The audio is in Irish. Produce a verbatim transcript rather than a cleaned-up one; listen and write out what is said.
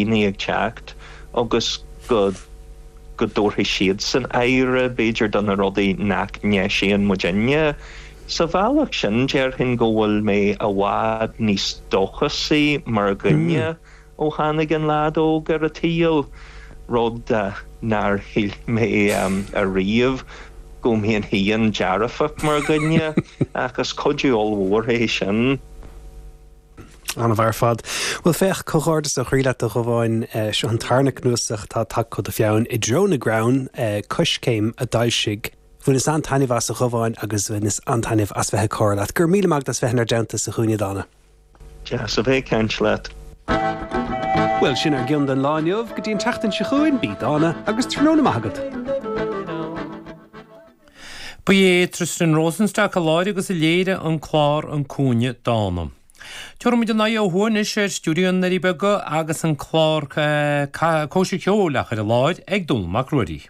daoine ag teacht agus go go dtabharfaidh siadsan aire b'fhéidir do na rudaí nach ndeisíonn muidinne. Sa bhealach sin déarfainn go bhfuil mé i bhfad níos dóchasaí mar dhuine ó tháinig an leaid óg ar an tsaol, rud nár shíl mé ariamh go mbeinn féin dearfach mar dhuine ach is cuidiú ollmhór é sin. An-mhaith ar fad. Well féach comhghairdeas ó chroí leat a Dhubháin seo an tarna cnuasach atá tagtha ó do pheann i dtreo na gcrann Coiscéim a d'fhoilsigh. Bhaineas an-taitneamh as a Dhubháin agus bhaineas an-taitneamh as bheith ag comhrá leat. Go raibh míle maith agat as bheith inár dteannta sa Chúinne Dána. Deas a bheith ag caint leat. Well sin ár gceann don lá inniu go dtí an tseachtain seo chugainn bí dána agus tráthnóna maith agat. Ba é Tristan Rosenstock a láithrigh agus a léirigh an clár an Cúinne Dána. Tabharfaimid ár n-aghaidh ó thuaidh anois ar stiúideo na nDoirí Beaga agus an clár Cóisir Cheoil á chur i láthair ag Dónall Mac Ruairí.